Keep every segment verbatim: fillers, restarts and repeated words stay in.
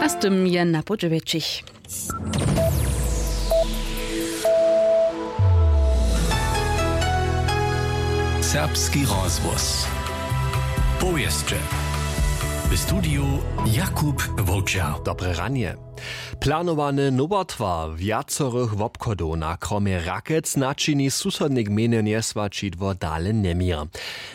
A z tym je na podźewjećich. Serbski rozhłos. Powěsće. W studiju Jakub Wowčer. Dobre ranje. Planowany nowotwar wjacorych wobchodow na kromje Rakec načini susodne gmejne njeswaćidło dale njeměr.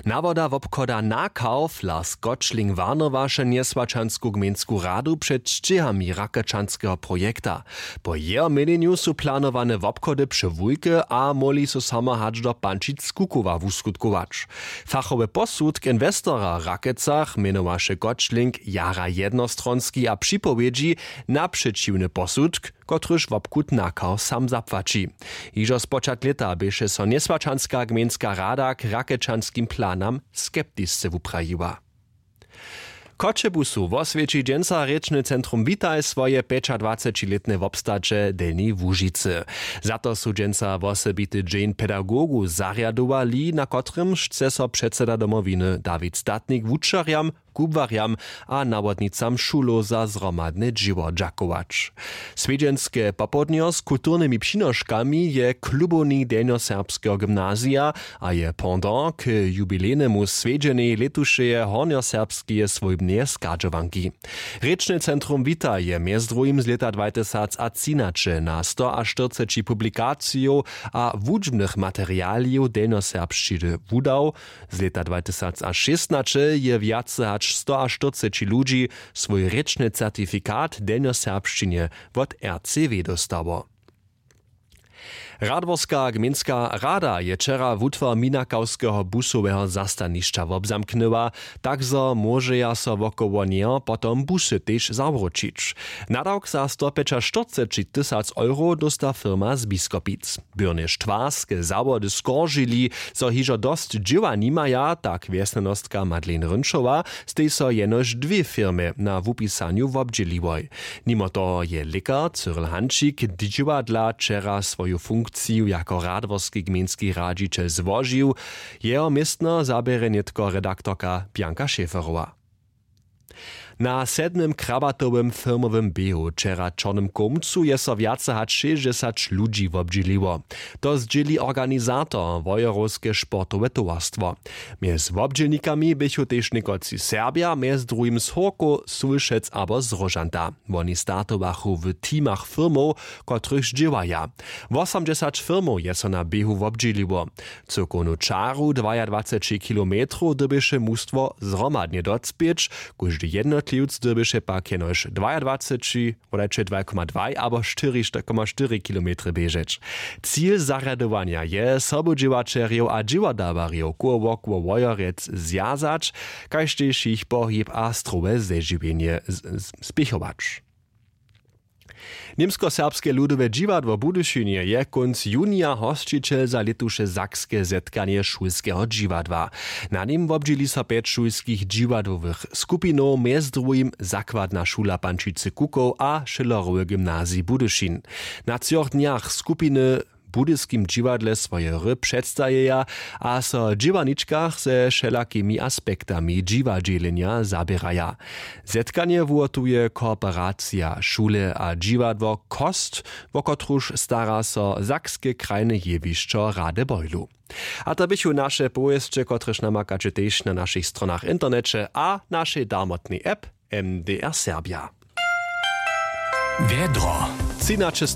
Nawoda wobchoda Nakau Lars Gotschling warnowaše njeswaćansku gmejnsku radu před sćěhami rakečanskeho projekta. Po jeho měnjenju su planowane wobchody přewulke a móhli so samo hač do pančic kukowa wuskutkować. Fachowy posudk inwestora w Rakecach mjenowaše Gotschling jara jednostronski a připowědźi na přećiwny posudk, kotryž wobchud Nakau sam zapłaći. Hižo spočatk lěta běše so njeswaćanska gmejnska rada k rakečanskim planam skeptisce wuprajiła. Choćebuzu woswjeći dźensa rěčny centrum Witaj swoje pjećadwacećilětne wobstaće w Delnjej Łužicy. Za to su dźensa wosebity dźeń pedagogow zarjadowali, na kotrymž chce so předseda Domowiny Dawid Statnik wučerjam, kubłarjam a nawodnicam šulow za zhromadne dźěło dźakować. Swjedźenske popołdnjo z kulturnymi přinoškami je klubowni delnjoserbskeho gymnazija a je pendant k jubilejnemu swjedźenjej lětušeje hornjoserbskeje swójbneje schadźowanki. Rěčne centrum Wita je mjez druhim z lěta dwatysacatřinaće na stoaštyrceći publikacijow a wučbnych materialijow delnjoserbšćiny wudał. Z lěta dwatysacšěstnaće je wjace hač stoaštyrceći ludźi swój rěčny certifikat w delnjoserbšćinje wot R C W dóstało. Radworska gmejnska rada je wčera wutwar minakawskeho busoweho zastanišća wobzamknyła, tak zo móžeja so wokoło njeho potom busy tež zawróćić. Nadawk za stopjećaštyrceći tysac euro dósta firma z Biskopic. Byrnje štwarske zawody skoržili, zo hižo dosć dźěła nimaja, tak wjesnjanostka Madeleine Rynčowa, stej so jenož dwě firmy na wupisanju wobdźěliłoj. Nimo toho je lěkar Cyril Hančik dźěła dla wčera swoju funkciju jako radworski gmejnski radźićel złožił. Jeho městno zaběrje nětko redaktorka Bianka Schäferowa. Na sedmym krabatowym firmowym běhu wčera w Čornym Kołmcu je so wjace hač šěsćdźesać ludźi wobdźěliło. To zdźěli organizator, wojerowske sportowe towarstwo. Mjez wobdźělnikami běchu tež někotři Serbja, mjez druhim z Hórkow, Sulšec abo z Róžanta. Woni startowachu w teamach firmow, kotrychž dźěłaja. Wosamdźesać firmow je so na běhu wobdźěliło. Cyłkownu čaru dwajadwaceći kilometrow dyrbješe mustwo zhromadnje docpěć, kóždy jednotliwc dyrbješe pak jenož dwajadwaceći, wodajće dwaj koma dwaj abo štyri koma štyri kilometry běžeć. Cil zarjadowanja je sobudźěłaćerjow a dźěładarjow koło wokoło Wojerec zwjazać, kaž tež jich pohib a strowe zežiwjenje z- z- spěchować. Němskoserbske ludowe dźiwadło w Budyšinje je kónc junija hosćićel za lětuše sakske zetkanje šulskeho dźiwadła. Na nim wobdźěli so pjeć šulskich dźiwadłowych skupinow, mjez druhim zakładna šula Pančicy Kukow a Schillerowy gymnazij Budyšin. Na třoch dnjach skupiny w budyskim dźiwadle swoje hry předstajeja a so w dźěłarničkach ze wšelakimi aspektami dźiwadźělenja zaběraja. Zetkanje wuhotuje kooperacija šule a dźiwadło Kost, wo kotruž stara so sakske krajne jewišćo Radebeulu. A to běchu naše powěsće, kotrež namakaće tež na našich stronach w interneće a našej darmotnej app M D R Serbia. Wjedro. Třinaće